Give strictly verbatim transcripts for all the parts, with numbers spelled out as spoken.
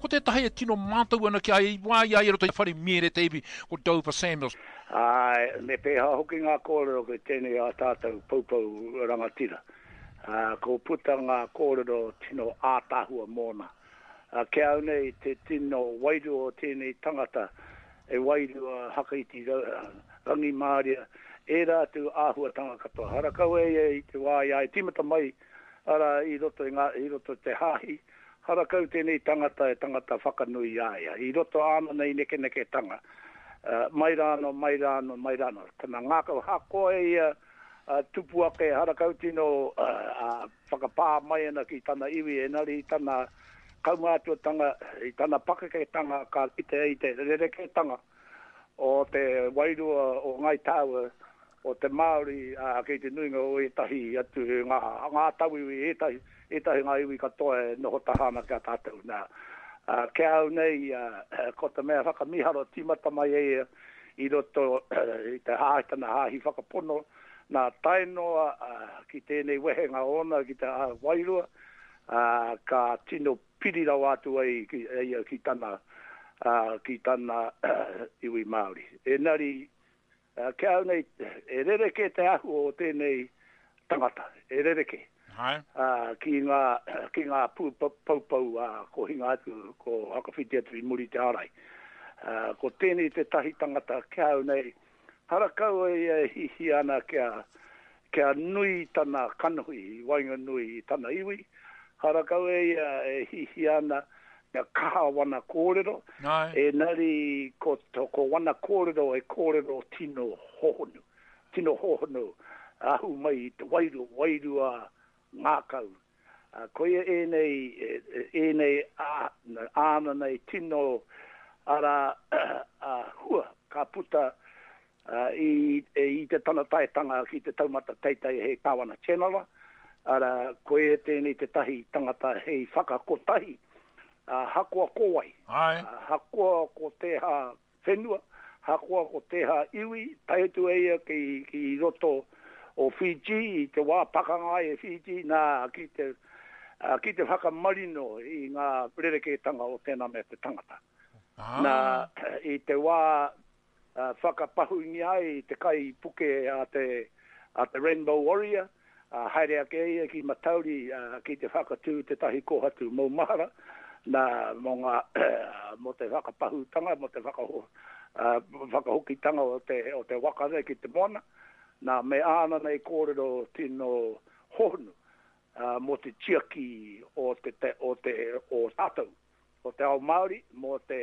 Ko tētahi e tino mātau ana ki a ia i wā i a ia i roto i whare miere te iwi, ko Dover Samuels. Āe, me pēhea hoki ngā kōrero ki tēnei ā tātou poupou rangatira. Ā, ko puta ngā kōrero tino ātaahua mōna. Ā, ki a au nei te tino wairua o tēnei tangata, e wairua hakaiti rangimāria, ērā atu āhuatanga katoa. Harakau e ia i te wā i a e tīmata mai, arā, i roto i ngā, i roto i te hāhi, harakau tēnei tangata e tangata whakanui i a ia, i roto āna nei nekeneketanga, mai rānō, mai rānō, mai rānō. Tana ngākau hakoa e ia, tupu ake, harakau tino whakapā mai ana ki tana iwi, engari i tana kaumātuatanga, i tana pakeketanga ka kite ai te rerekētanga o te wairua o Ngāi Tāua, o te Māori, ā, kei te nuinga o ētahi atu, ngā, ngā tauiwi, ētahi, ētahi ngā iwi katoa e noho taha ana ki a tātou. Nā, ā, ki a au nei, ā, ko te mea whakamīharo tīmata mai e ia i roto i te hāhi, tana hāhi whakapono, nā, tae noa, ā, ki tēnei wehenga ōna ki te wairua, ā, ka tino piri rawa atu ai ki, e ia ki tana, ā, ki tana iwi Māori. Engari, ki a au nei, e rerekē te āhua o tēnei tangata, e rerekē. Hai. Ā, ki ngā, ki ngā pū poupou, ā, ko hinga atu, ko whakawhiti atu i muri i te ārai. Ā, ko tēnei tētahi tangata ki a au nei, harakau e ia e hihia ana kia, kia nui tana kanohi i waenganui i tana iwi, harakau e ia e hihia ana kia kaha wana kōrero, engari ko, ko wana kōrero e kōrero tino hohonu, tino hohonu, ahu mai i te wairua, wairua ngākau. Koia ēnei, ēnei āna nei tino ara hua ka puta i, i te tana taetanga ki te taumata teitei hei Kāwana Tianara, arā, koia tēnei tētahi tangata hei whakakotahi, hakoa ko wai, hakoa ko tēhā whenua, hakoa ko tēhā iwi, tae atu e ia ki, ki roto o Fiji, i te wā pakanga ai e Fiji, nā, ki te, ki te whakamarino i ngā rerekētanga o tēnā mea te tangata. Ah. Nā, i te wā whakapahūngia ai te kaipuke a te, a te Rainbow Warrior, ā, haere ake ia ki Matauri ki te whakatū tētahi kōhatu maumahara, nā, mō ngā, mō te whakapahūtanga, mō te whakaho, whakahokitanga o te, o te waka nei ki te moana, nā, me āna nei kōrero tino hohonu, ā, mō te tiaki o te, te, o te, o tātou, o te ao Māori, mō te,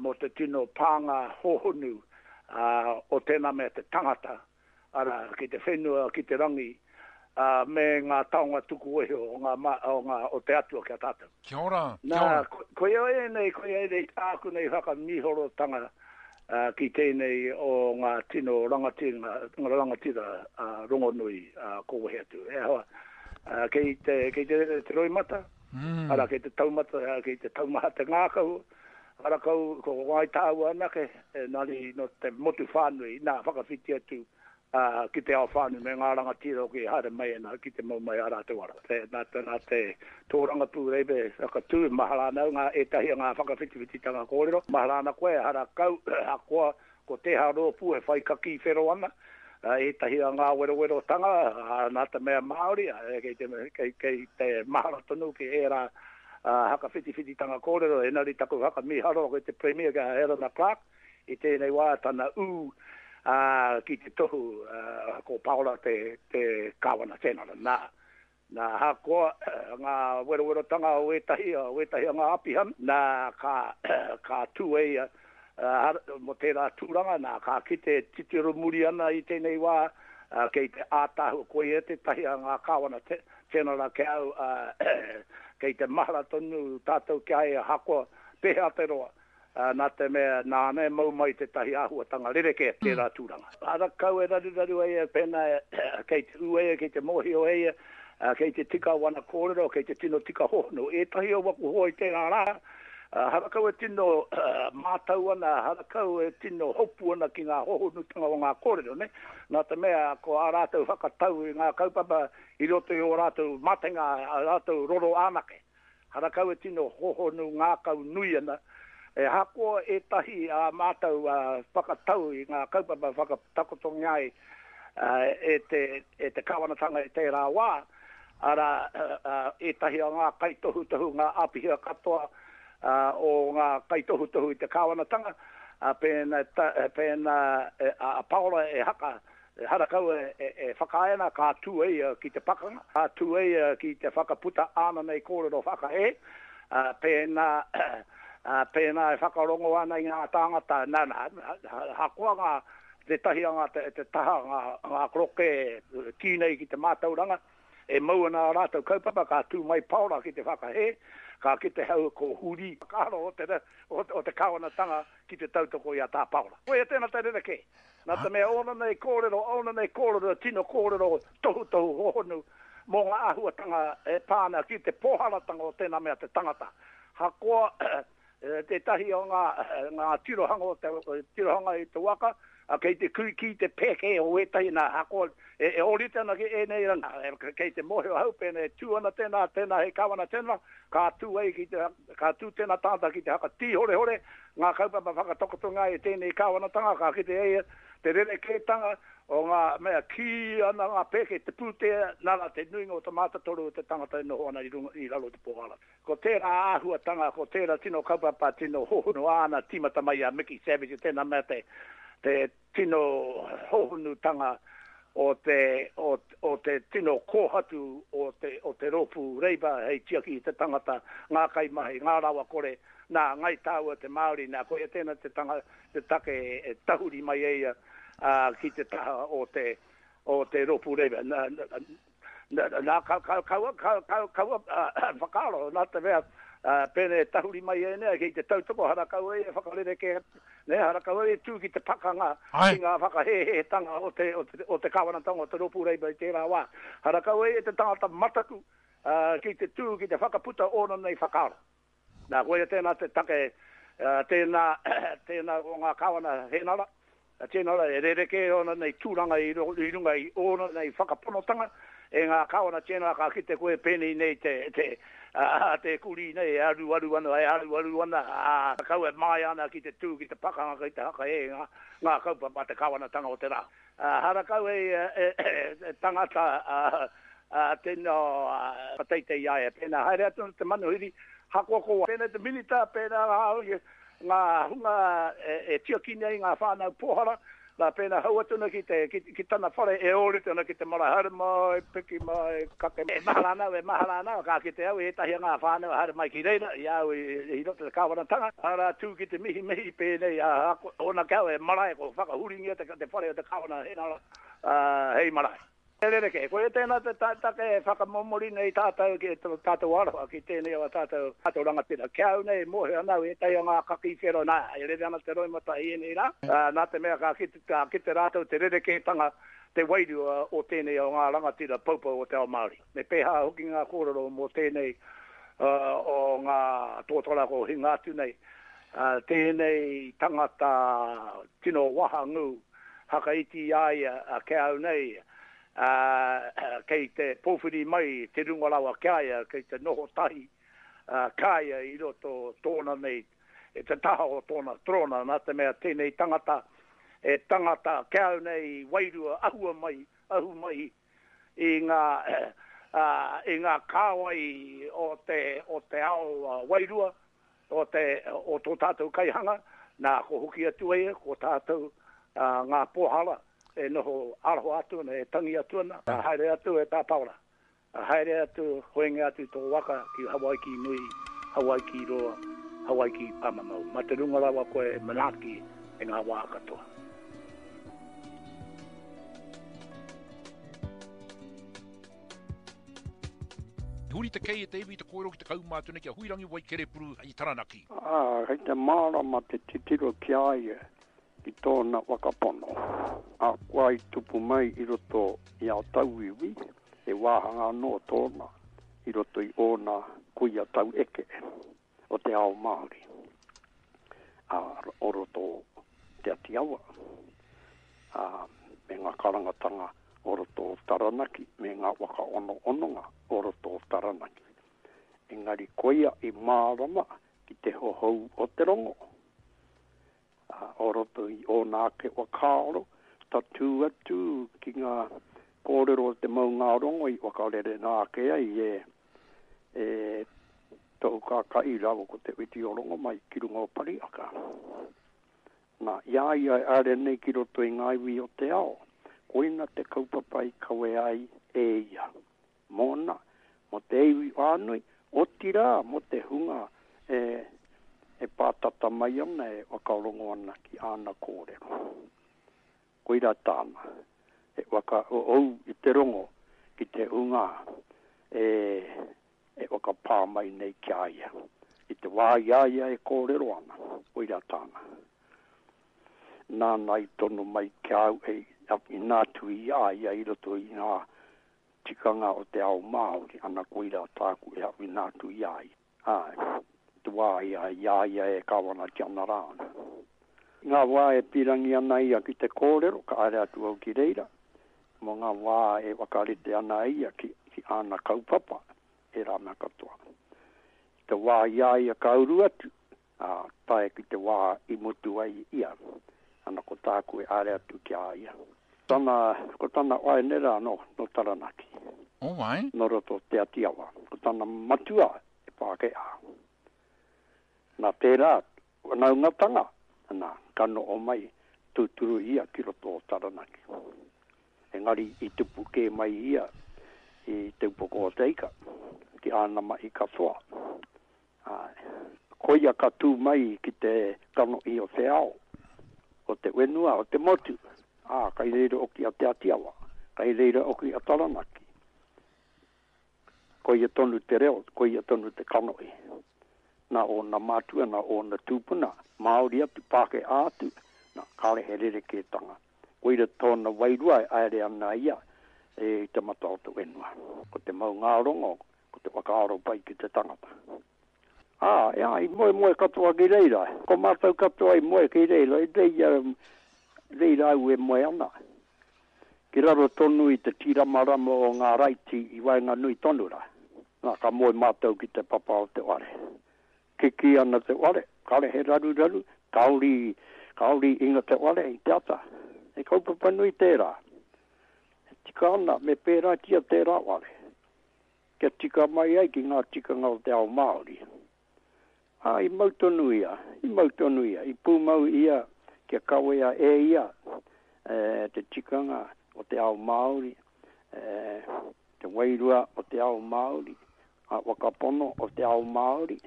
mō te tino pānga hōhonu, ā, o tēnā mea te tangata, arā, ki te whenua, ki te rangi, ā, me ngā taonga tuku iho o ngā, o ngā, o te Atua ki a tātou. Kia ora, kia Nā, ora. ko, koia ēnei, koia ēnei tāku nei whakamīhorotanga, ā, ki tēnei o ngā tino rangatira, rangatira, ā, rongonui, ā, ko wehe atu. E hoa, ā, kei te, kei te rere te roimata, Mm. arā, kei te taumata, kei te taumaha te ngākau, arā kau, ko Ngāi Tāua anake, engari nō te motu whānui, nā, whakawhiti atu, ā, ki te ao whānui me ngā rangatira hoki e haere mai ana ki te mau mai ā rātou ara. Te, nā te, nā te tōrangapū reipe whakatū, mahara ana au ngā, ētahi o ngā whakawhitiwhititanga kōrero, mahara ana koe, hara kau, ahakoa ko tēhā rōpū e whai kakī whero ana, ā, ētahi o ngā werowerotanga, ā, nā te mea Māori, ā, kei te, kei, kei te mahara tonu ki ērā, ā, whakawhitiwhititanga kōrero, engari taku whakamīharo ki te Premier, ki a Helena Clark, i tēnei wā tana ū, ā, ki te tohu, ā, ko Paora te, te Kāwana Tianara. Nā, nā, ahakoa ngā werowerotanga o ētahi, o ētahi o ngā apihana, nā, ka, ka tū e ia, ā, mō tērā tūranga, nā, ka kite e titiro muri ana i tēnei wā, ā, kei te ātaahua, koia tētahi a ngā Kāwana Tianara ki a au, ā, kei te mahara tonu tātou ki a ia, ahakoa pēhea te roa, ā, nā te mea nāna e mau mai tētahi āhuatanga rerekē tērā tūranga. Harakau e raruraru ai ia pēnā kei te ū ia, kei te mōhio e ia, ā, kei te tika wana kōrero, kei te tino tika hohonu. Ētahi o waku hoa i tērā rā, ā, harakau e tino mātau ana, harakau e tino hopu ana ki ngā hohonutanga o ngā kōrero, nē? Nā te mea ko ā rātou whakatau i ngā kaupapa i roto i ō rātou matenga, ā rātou roro anake. Harakau e tino hohonu ngākau nui ana, e hakoa ētahi a mātou whakatau i ngā kaupapa whakatakotongia ai e te, e te kāwanatanga i tērā wā, arā ētahi o ngā kaitohutohu, ngā āpiha katoa o ngā kaitohutohu i te kāwanatanga, pēnā, pēnā a Paora e haka, harakau e, e, e whakaae ana ka tū e ia ki te pakanga, ka tū e ia ki te whakaputa āna nei kōrero whakahē, pēnā, pēnā e whakarongo ana i ngā tāngata, nā, nā, hakoa ngā, te tahi a ngā, te, te taha ngā, ngā kroke kī nei ki te mātauranga, e mau ana a rātou kaupapa, ka tū mai Paora ki te whakahē, ka kite hau ko huri whakaaro o te, o, o te kāwanatanga ki te tautoko i a tā Paora. Koia tēnā te rerekē. Nā te mea ōna nei kōrero, ōna nei kōrero, tino kōrero tohutohu hohonu mō ngā āhuatanga e pā ana ki te pōharatanga o tēnā mea te tangata. Hakoa tētahi o ngā, ngā tirohanga o te, tirohanga i te waka, kei te kui ki te pēke o ētahi nā hakoa e, e ōrite ana ki ēnei rangi. Kei te mōhio hau pēnei e tū ana tēnā, tēnā hei kāwana tēnā, ka tū ai ki te, ka tū tēnā tangata ki te haka tīhorehore, ngā kaupapa whakatakotonga e tēnei kāwanatanga, ka kite e ia te rerekētanga o ngā mea kī ana ngā pēke te pūtea, nā rā te nuinga o te mātatoru o te tangata e noho ana i runga i raro i te pōhara. Ko tērā āhuatanga, ko tērā tino kaupapa, tino hohonu āna tīmata mai a Mickey Savage, tēnā mea te, te tino hohonutanga o te, o, o te tino kōhatu o te, o te rōpū Labour hei tiaki i te tangata, ngā kaimahi, ngā rawa kore, nā Ngai Tāua te Māori, nā koia tēnā te, tanga, te take e tahuri mai e ia uh, ki te taha o te, o te rōpū Labour. Nā, nā, nā ka, ka, kaua, ka, ka, kaua uh, whakaaro, nā te mea, uh, pēnei tahuri mai e nei, ki te tautoko harakau e whakarereke, ne, harakau e tū ki te pakanga, ki ngā whakahēhētanga o te, o te, o te kāwanatanga o te rōpū Labour i tērā wā. Harakau e te tangata mataku uh, ki te tū, ki te whakaputa ōna nei whakaaro. Nā, koia tēnā te take, uh, tēnā, tēnā o ngā kāwana hēnara, tēnā e rerekē ōna nei tūranga i, i runga i ōna nei whakaponotanga, e ngā kāwana tēnā ka kite koe pēnei nei te, te, uh, te kuri nei e aru aru ana, e aru aru ana, uh, kau e māia ana ki te tū, ki te pakanga, ki te haka e ngā, ngā kaupapa te kāwanatanga o te rā. Uh, harakau e, e, e, e tangata uh, uh, tēnā uh, pateitei ai, pēnā haere atu te manuhiri, hakoa ko pēnā te minita, pēnā ngā hunga e, e tiaki nei ngā whānau pōhara, nā pēnā hau atu na ki, te, ki, ki tana whare e ōrite ana ki te marae, haere mai, piki mai, kake. E mahara ana, e mahara ana, ka kite au, ētahi ngā whānau haere mai ki reira, i au i, i roto te kāwanatanga, ara tū ki te mihi mihi pēnei, a, ōna kau e marae, ko whakahuringia te, te whare o te kāwana hēnara, uh, hei marae. E rereke, koe tēnā te take e whakamomori nei tātou ki tātou aroha ki tēnei o tātou, tātou rangatira. Kia au nei, mōhio ana au ētahi o ngā kaki whero nā, e rere ana te roimata i ēnei rā. Uh, nā te mea ka kite, ka kite rātou te rerekētanga te wairua o tēnei o ngā rangatira poupou o te ao Māori. Me pēhā hoki ngā kōrero mō tēnei uh, o ngā tōtara ko hinga atu nei. Uh, tēnei tangata tino wahangū hakaiti i a ia uh, kia au nei, Uh, kei te pōwhiri mai te runga rawa kia ia, kei te noho tahi uh, kāia i roto tōna nei, e te taha o tōna trona, nā te mea tēnei tangata, e tangata kia au nei wairua ahua mai, ahu mai i ngā, uh, i ngā kāwai o te, o te ao uh, wairua, o, te, o tō tātou kaihanga, nā ko hoki atu e, ko tātou uh, ngā pōhara, e noho aroha atu ana, e tangi atu ana, a haere atu e tā Paora. A haere atu, hoenge atu tō waka ki Hawaiki nui, Hawaiki roa, Hawaiki pāmamau. Ma te runga rawa koe e manaaki e ngā wā katoa. Huri te kei e te iwi te kōrero ki te kaumātua nei ki a Huirangi Waikerepuru i Taranaki. Ah, hei te mārama te titiro ki a ia ki tōna whakapono. A kua i tupu mai i roto i a tauiwi, e wāhanga anō tōna i roto i ōna kuia tau eke o te ao Māori. A o roto Te Ati Awa, a, me ngā karangatanga o roto o Taranaki, me ngā waka ono ononga o roto o Taranaki. Engari koia i mārama ki te hohou o te rongo. Uh, o roto i ōna ake whakaaro, tatū atu ki ngā kōrero o te maungārongo i whakarere nā ake ai e, e tō kākai rawa ko te witi o rongo mai ki runga o Pariaka. Nā, i a ia e are nei ki roto i ngā iwi o te ao, koina te kaupapa i kawe ai e ia. Mōna, mō te iwi whānui, otirā mō te hunga e, e pātata mai ana e whakarongo ana ki āna kōrero. Koira tāna, e whakaou i te rongo ki te hunga e, e whakapā mai nei ki a ia. I te wā i a ia e kōrero ana, koira tāna. Nāna i tono mai ki au e inā tu i a ia i roto i ngā tikanga o te ao Māori, ana koira tāku e inā tu i a ia. Ai, te wā i a ia ia e kawana ki ana rā. Ngā wā e pirangi ana ia ki te kōrero, ka are atu au ki reira, mo ngā wā e wakarite ana ia ki, ki āna kaupapa, e rā mea katoa. Te wā i a ia ka uru atu, a, tae ki te wā i mutu ai ia, ana ko tāku e are atu ki a ia. Tana, ko tana waenera no, no Taranaki. Oh, ai? No roto Te Atiawa. Ko tana matua e Pākehā. Nā tērā, wanaungatanga, nā, ka noho mai tūturu ia ki roto o Taranaki. Engari i tupu kē mai ia i Te Upoko o Te Ika, ki āna mahi katoa. Ai. Koia ka tū mai ki te kanohi o te ao, o te whenua, o te motu. Ā, kai reira oki a Te Atiawa, kai reira oki a Taranaki. Koia tonu te reo, koia tonu te kanohi. Nā ōna mātua, nā ōna tūpuna, Māori atu, Pākehā atu, nā, kāre he rerekētanga. Koira tōna wairua e aere ana ia e i te mata o te whenua. Ko te maungārongo, ko te whakaaro pai ki te tangata. Ā, ea, i moe moe katoa ki reira. Ko mātou katoa i moe ki reira, i reira, reira au e moe ana. Ki raro tonu i te tīramarama o ngā raiti i waenganui tonu rā. Nā, ka moe mātou ki te papa o te ware. Kiki ana te ware, kare he raruraru, kaori, kaori inga te ware i te ata. E kaupapa nui tērā. E tika ana, me pērātia tērā ware. Kia tika mai ai ki ngā tikanga o te ao Māori. Ā, i mau tonu ia, i mau tonu ia, i pūmau ia kia kawea e ia e, te tikanga o te ao Māori, e, te wairua o te ao Māori, a whakapono o te ao Māori,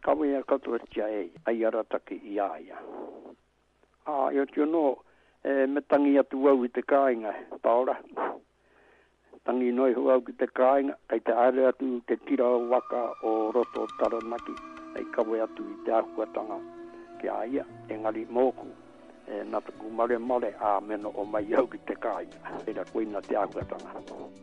kawea katoatia e ia, ai arataki i a ia. Ā, i oti anō, e, me tangi atu au i te kāinga, Paora. Tangi noa iho au ki te kāinga, kei te haere atu te tira waka o roto o Taranaki, hei kawe atu i te āhuatanga ki a ia, engari mōku, e, nā taku maremare, ā, me noho mai au ki te kāinga. Reira koina te āhuatanga.